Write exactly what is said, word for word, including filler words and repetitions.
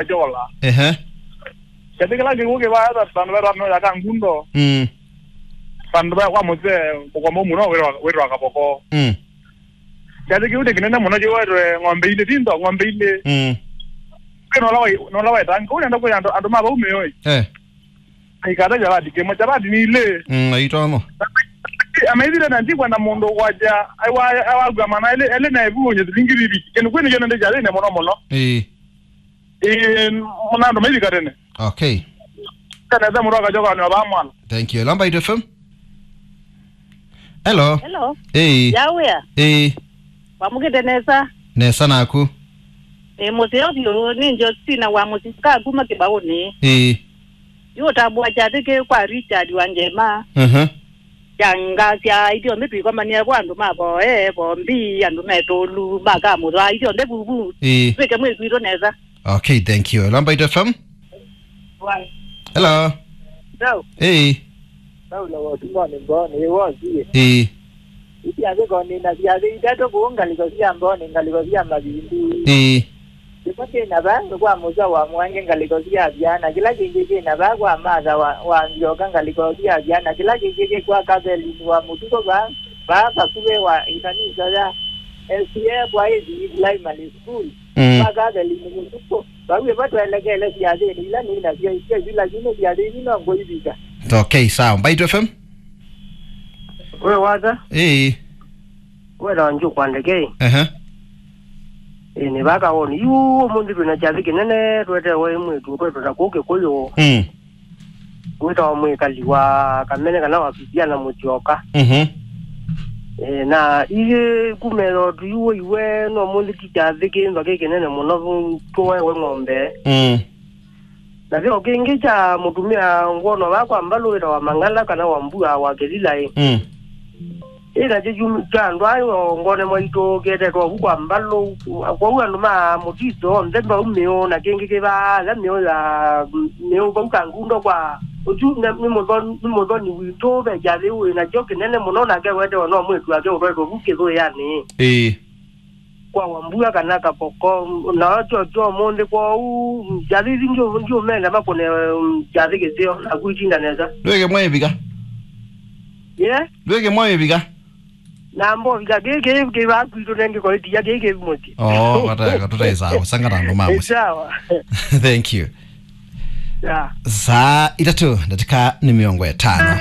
Ejola. Ehe. Kyathĩ kĩla kĩw'ũ kĩvaa vandũ vetano ya Kangundo. Mm. Vandũ va kwa mũsee mũkomo mũno wĩtwa, wĩtwa Kaboko. Mm. Kyathĩ kĩu nĩ kĩnene mũno kĩwetwe ng'ombe ilĩ, tindo ng'ombe ilĩ. Mm. Kĩ nola wai-, nola waitanga. Ũnenda kwĩ andũ, andũ ma vau mĩoi. Eh. Aikata chavati kĩmwe, chavati ni ilĩ. Mm, aitono. Amaithire na ntikwa na mũndũ kwaja, aiwa, aiwa gwa mana ele, ele na ebu onye silingi bibi. Kĩndũ kwĩ nĩ kĩonende kyathĩne mũno mũno. Ĩĩ. Ĩĩ, mũna andũ maithika tene. Okay. Kana za mũndũ akajoka ni wa mwana. Thank you. Lamba F M. Hello. Hello. Hey. Yawea. Hey. Wamũkĩte nesa? Nesa naku. Ĩ, mũseo vyũ, nĩ Josina wa mũsika kuma Kĩbaũnĩ. Hey. Yu ũtambũa kyathĩ kĩ kwa Richard wa Ngema. Mhm. Kyangasya ithyonthe twikomanie kwa andũ ma Voe, Vombi, andũ metũlu, makamũthwa, ithyonthe vuvu. Ĩĩ. Twĩke mwĩkwitũ nesa. Okay, thank you. Lamba F M. Hello. Hello. Hey. Paulo wa Simoni Mboni, wosie. Hey. Iti athiko nina siathĩ itatũ kũu ngaliko sia Mboni, ngaliko sia Mavindu. Hey. Kĩmwe kĩ na vaa kwa mũsya wa mwange ngaliko sya vyana, kĩla kĩngĩ kĩ na vaa kwa Matha wa, wa Nzyoka ngaliko sya vyana, kĩla kĩngĩ kĩ kwa Kavelini wa Mũtuko vaa, vaa vakuvĩ wa ĩkanisa ya S D A Bwaĩthi Primary School. Mm. Kwa Kavelini Mũtuko, vau ĩvo twelekele syathĩnĩ ila nĩ nasyo, isyo ila lakini syathĩ isu no ngũivika. Okay, sawa. Mbaitu F M? We wata? Ĩĩ. Wĩtawa Njũkwa Ndekei. Ehe. Ĩĩ, nĩ vaka woni. Yu, ũmũnthĩ twĩ na kyathĩ kĩnene, twetewe mwĩĩtu ũkwetwe na kũu Kĩkũyũ. Mm. Wĩtawa mwĩkali wa Kamene kana wa Viviana Mũtyoka. Mhm. Ĩĩ, na iye kumela ũtu yu wĩiwe, no ũmũnthĩ ti kyathĩ kĩmba kĩ kĩnene mũno, tũwewe ng'ombe. Mm. Na kĩo kĩngĩ kya mũtumĩa ngwono va kwa mbalũ wĩtawa Mang'ala kana Wambua wa Kĩlilaĩ. Mm. Ĩ nakyo kyumĩ kya andũ ayo ngone mwaitũ kĩetetwe vu kwa mbalũ. Kwoou andũ ma mũtiso onthe mbau mĩũ na kĩngĩ kĩvaa ala mĩũ ya mĩũ vau Kangundo kwa ũsu nĩ, nĩ mũthoni, nĩ mũthoni witũ ve kyathĩ wĩ nakyo kĩnene mũno nake wetewa no mwĩtu wake ũtwaĩtwe vu kĩthũĩanĩ. Ĩĩ. Kwa Wambua kana Kaboko, na kyo kyo ũmũnthĩ kwoou, kyathĩ ithi ndiũ-, ndiũmenda makũne, um, kyathĩ kĩseo, naku itinda nesa. Ndwĩke mwaĩvika? Ye? Ndwĩke mwaĩvika? Na mbovika kĩ, kĩ, kĩ vaku itũ nengĩ kwa ĩtia, kĩ, kĩ mũti. Oh, kataka, tũtaĩ sawa, sangana andũ ma mũsyĩ. Sawa. Thank you. Yeah. Saa itatũ, ndatĩka nĩ mĩongo ĩtano.